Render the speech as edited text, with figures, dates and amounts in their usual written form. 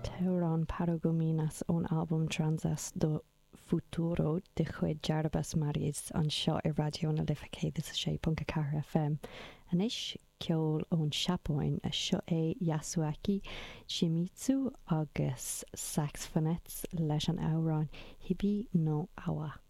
An t-amhrán Paragominas ón albam Tranças do Futuro de chuid Jarbas Maris anseo ar Raidió na Life 106.4 FM. Anois, ceol ón Seapáin. Seo é Yasuaki Shimizu agus Saxphonettes leis an amhrán Hibi no Awa.